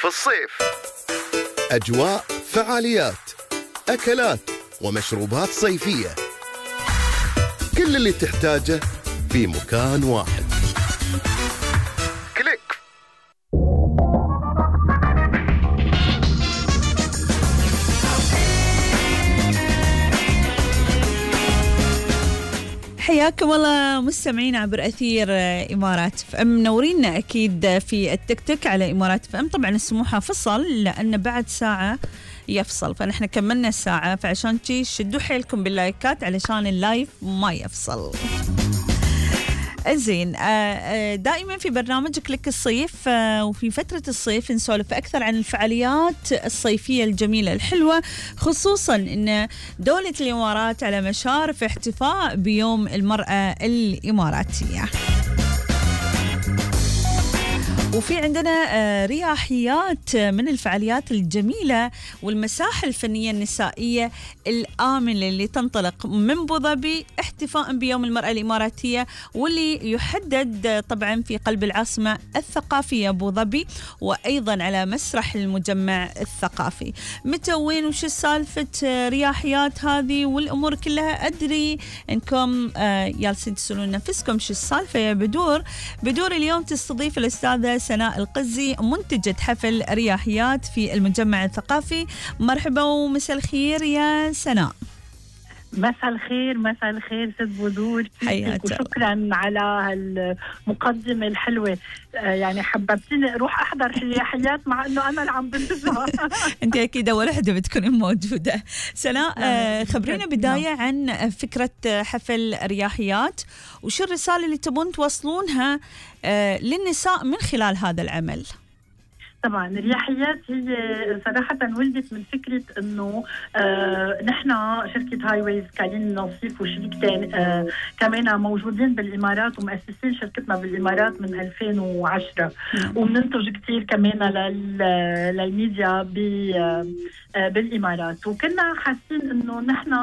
في الصيف. أجواء، فعاليات، أكلات ومشروبات صيفية، كل اللي تحتاجه في مكان واحد. كليك. حياكم الله مستمعين عبر أثير إمارات FM. منورينا أكيد في التيك توك على إمارات FM. طبعا السموحة فصل لأن بعد ساعة يفصل، فنحن كملنا الساعة، فعشان شدوا حيلكم باللايكات علشان اللايف ما يفصل. زين، دائما في برنامج كليك الصيف وفي فترة الصيف نسولف أكثر عن الفعاليات الصيفية الجميلة الحلوة، خصوصا أن دولة الإمارات على مشارف احتفاء بيوم المرأة الإماراتية، وفي عندنا رياحيات من الفعاليات الجميلة والمساحة الفنية النسائية الآمنة اللي تنطلق من أبو ظبي احتفاء بيوم المرأة الإماراتية، واللي يحدد طبعا في قلب العاصمة الثقافية أبو ظبي، وأيضا على مسرح المجمع الثقافي. متى وين وش سالفة رياحيات هذه والأمور كلها؟ أدري أنكم جالسين تسألون نفسكم شو السالفة يا بدور. بدور اليوم تستضيف الأستاذة سناء القزي منتجة حفل رياحيات في المجمع الثقافي. مرحبا ومساء الخير يا سناء. مساء الخير، مساء الخير ست بدور، حياتك وشكرا على المقدمة الحلوة. يعني حببتني اروح احضر الرياحيات مع انه انا اللي عم بنتجها. انت اكيد اول وحده بتكوني موجوده. سناء، خبرينا بدايه عن فكره حفل رياحيات، وشو الرساله اللي تبون توصلونها للنساء من خلال هذا العمل؟ طبعا الرياحيات هي صراحة ولدت من فكرة انه نحن شركة هاي ويز كاين نصيف وشركتين كمان موجودين بالامارات ومؤسسين شركتنا بالامارات من 2010 وبننتج كثير كمان للميديا بالامارات، وكنا حاسين انه نحن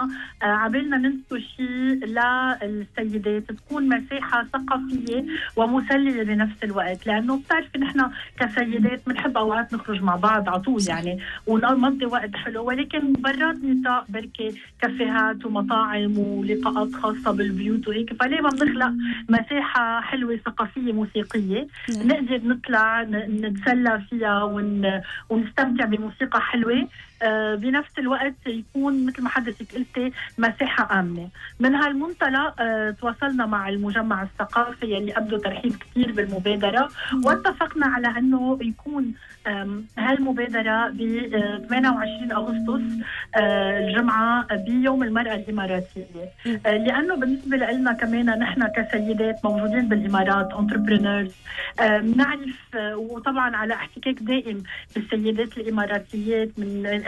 عبالنا ننتج شيء للسيدات تكون مساحة ثقافية ومسلية بنفس الوقت، لانه بتعرفي نحن كسيدات بنحب اوقات نخرج مع بعض على طول يعني ونقضي وقت حلو، ولكن برات نطاق بركي كافيهات ومطاعم ولقاءات خاصة بالبيوت وهيك، فليه ما بنخلق مساحة حلوة ثقافية موسيقية نقدر نطلع نتسلى فيها ونستمتع بموسيقى حلوة بنفس الوقت يكون مثل ما حضرتك قلتي مساحة آمنة. من هالمنطلق تواصلنا مع المجمع الثقافي اللي أبدوا ترحيب كثير بالمبادرة، واتفقنا على أنه يكون هالمبادرة ب 28 أغسطس الجمعة بيوم المرأة الإماراتية، لأنه بالنسبة لنا كمان نحن كسيدات موجودين بالإمارات entrepreneurs نعرف وطبعا على احتكاك دائم بالسيدات الإماراتيات من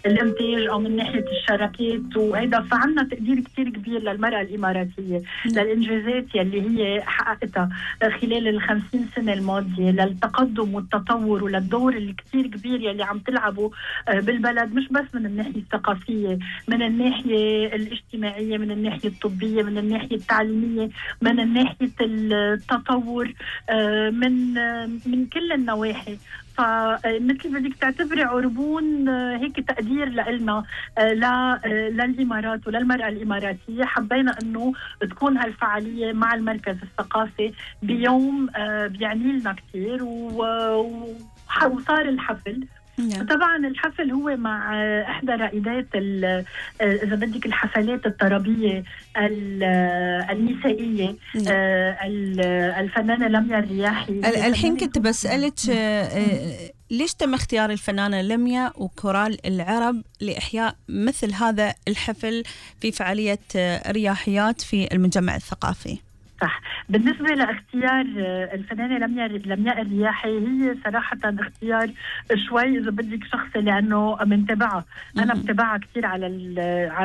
الانتاج او من ناحيه الشراكات وهيدا، فعنا تقدير كثير كبير للمراه الاماراتيه للانجازات يلي هي حققتها خلال ال50 سنه الماضيه، للتقدم والتطور وللدور اللي كثير كبير يلي عم تلعبه بالبلد، مش بس من الناحيه الثقافيه، من الناحيه الاجتماعيه، من الناحيه الطبيه، من الناحيه التعليميه، من ناحيه التطور، من كل النواحي. فمثل بدك تعتبري عربون هيك تقدير لنا للإمارات وللمرأة الإماراتية. حبينا أنه تكون هالفعالية مع المركز الثقافي بيوم بيعني لنا كثير، وصار الحفل. طبعا الحفل هو مع احدى رائدات اذا بدك الحفلات الطربيه النسائيه الفنانه لميا الرياحي. الحين كنت بسألك ليش تم اختيار الفنانه لميا وكورال العرب لاحياء مثل هذا الحفل في فعاليه رياحيات في المجمع الثقافي؟ صح، بالنسبة لاختيار الفنانة لمياء الرياحي هي صراحة اختيار شوي إذا بدك شخصي، لأنه منتبعها، أنا متابعها كثير على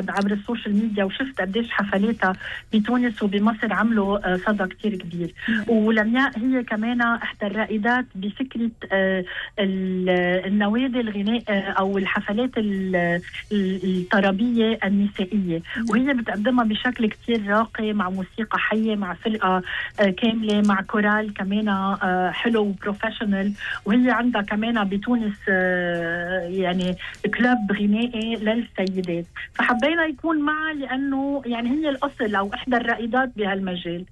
عبر السوشيال ميديا، وشفت قديش حفلاتها بتونس وبمصر عملوا صدى كثير كبير. ولمياء هي كمان إحدى الرائدات بفكرة النوادي الغناء أو الحفلات الطربية النسائية، وهي بتقدمها بشكل كثير راقي مع موسيقى حية مع فرقة كاملة مع كورال كمان حلو وبروفيشنال، وهي عندها كمان بتونس يعني كلاب غنائي للسيدات، فحبينا يكون معها لأنه يعني هي الأصل أو إحدى الرائدات بهالمجال.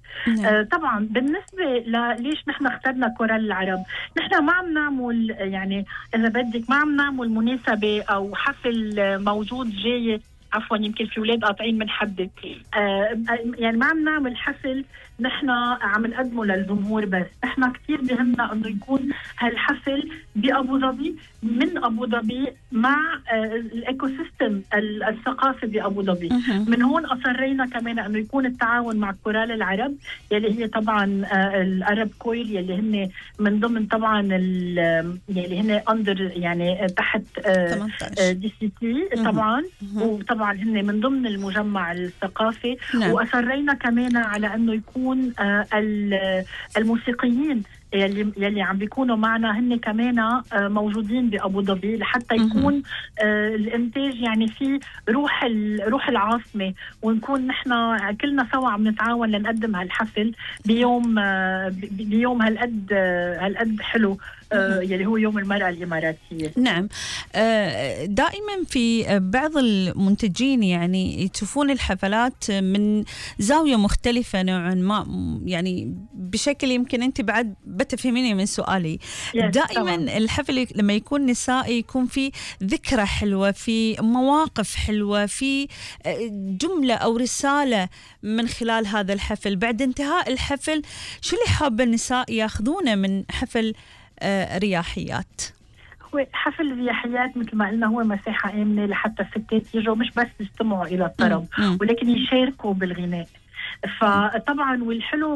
طبعا بالنسبة ليش نحن اخترنا كورال العرب، نحن ما عم نعمل يعني إذا بدك ما عم نعمل مناسبة أو حفل موجود جاي، عفوا يمكن في اولاد قاطعين من حدك، يعني ما عم نعمل حفل نحن عم نقدمه للجمهور، بس احنا كثير بهمنا انه يكون هالحفل بابو ظبي، من ابو ظبي مع الايكو سيستم الثقافي بابو ظبي. من هون اصرينا كمان انه يكون التعاون مع كورال العرب يلي هي طبعا العرب كويل يلي هن من ضمن طبعا يلي هن اندر يعني تحت دي سي تي طبعا، وطبعا هن من ضمن المجمع الثقافي. واصرينا كمان على انه يكون الموسيقيين يلي عم بيكونوا معنا هن كمان موجودين بأبو ظبي، لحتى يكون الانتاج يعني في روح العاصمة، ونكون نحن كلنا سوا عم نتعاون لنقدم هالحفل بيوم هالقد حلو يلي هو يوم المرأة الإماراتية. نعم. دائما في بعض المنتجين يعني يشوفون الحفلات من زاوية مختلفة نوعا ما، يعني بشكل يمكن أنت بعد بتفهميني من سؤالي. دائما الحفل لما يكون نسائي يكون في ذكرى حلوة، في مواقف حلوة، في جملة أو رسالة من خلال هذا الحفل. بعد انتهاء الحفل شو اللي حابة النساء ياخذونه من حفل رياحيات؟ هو حفل رياحيات مثل ما قلنا هو مساحة آمنة لحتى الستات يجوا مش بس يستمعوا إلى الطرب ولكن يشاركوا بالغناء. فطبعا والحلو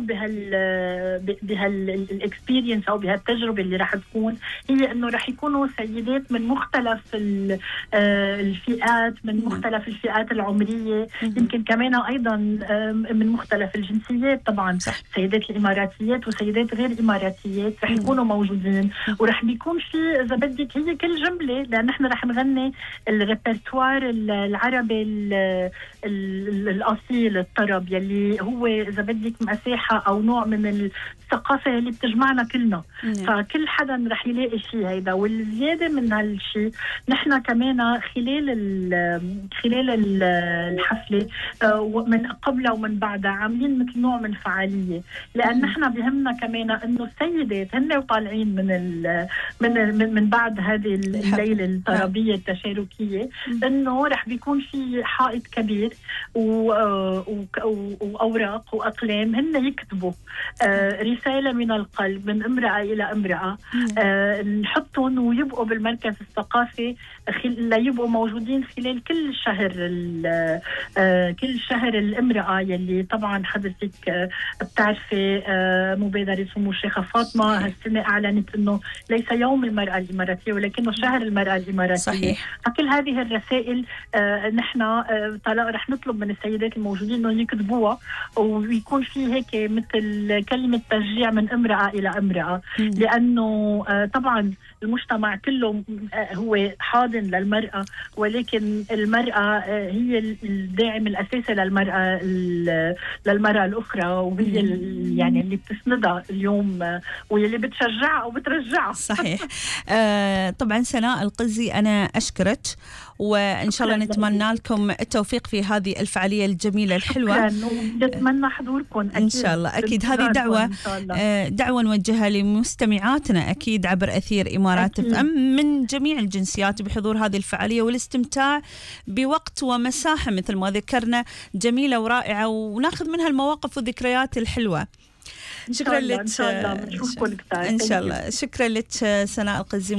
بهالاكسبيرينس او بهالتجربه اللي راح تكون هي انه راح يكونوا سيدات من مختلف الفئات، من مختلف الفئات العمريه، يمكن كمان ايضا من مختلف الجنسيات. طبعا سيدات الاماراتيات وسيدات غير اماراتيات راح يكونوا موجودين، وراح بيكون في اذا بدك هي كل جمله، لان نحن راح نغني الريبرتوار العربي الاصيل، الطرب يلي هو إذا بدك مساحة أو نوع من الثقافة اللي بتجمعنا كلنا. فكل حدا رح يلاقي شيء هيدا. والزيادة من هالشيء نحن كمان خلال الحفلة من قبلها ومن بعدها عاملين مثل نوع من فعالية، لأن نحن بهمنا كمان إنه السيدات هن وطالعين من بعد هذه الليلة الطربية التشاركية، إنه رح بيكون في حائط كبير وأوراق وأقلام هن يكتبوا رسالة من القلب من امرأة إلى امرأة، نحطهم ويبقوا بالمركز الثقافي ليبقوا موجودين خلال كل شهر الامرأة، يلي طبعا حضرتك بتعرفي مبادرة سمو الشيخة فاطمة هالسنة أعلنت إنه ليس يوم المرأة الإماراتية ولكنه شهر المرأة الإماراتية. صحيح. فكل هذه الرسائل نحن رح نطلب من السيدات الموجودين إنه يكتبوها، ويكون في هيك مثل كلمة تشجيع من امرأة إلى امرأة، لأنه طبعا المجتمع كله هو حاضن للمرأة، ولكن المرأة هي الداعم الأساسي للمرأة الأخرى، وهي يعني اللي بتسندها اليوم واللي بتشجعها أو بترجعها. صحيح. طبعا سناء القزي أنا أشكرك، وإن شاء الله نتمنى لكم التوفيق في هذه الفعالية الجميلة الحلوة. نتمنى حضوركم أكيد. إن شاء الله. أكيد هذه دعوة نوجهها لمستمعاتنا أكيد عبر أثير إمارات اف ام من جميع الجنسيات بحضور هذه الفعالية والاستمتاع بوقت ومساحة مثل ما ذكرنا جميلة ورائعة، وناخذ منها المواقف والذكريات الحلوة. شكرا لك. إن شاء الله. إن شاء الله. شكرا لك سناء القزي.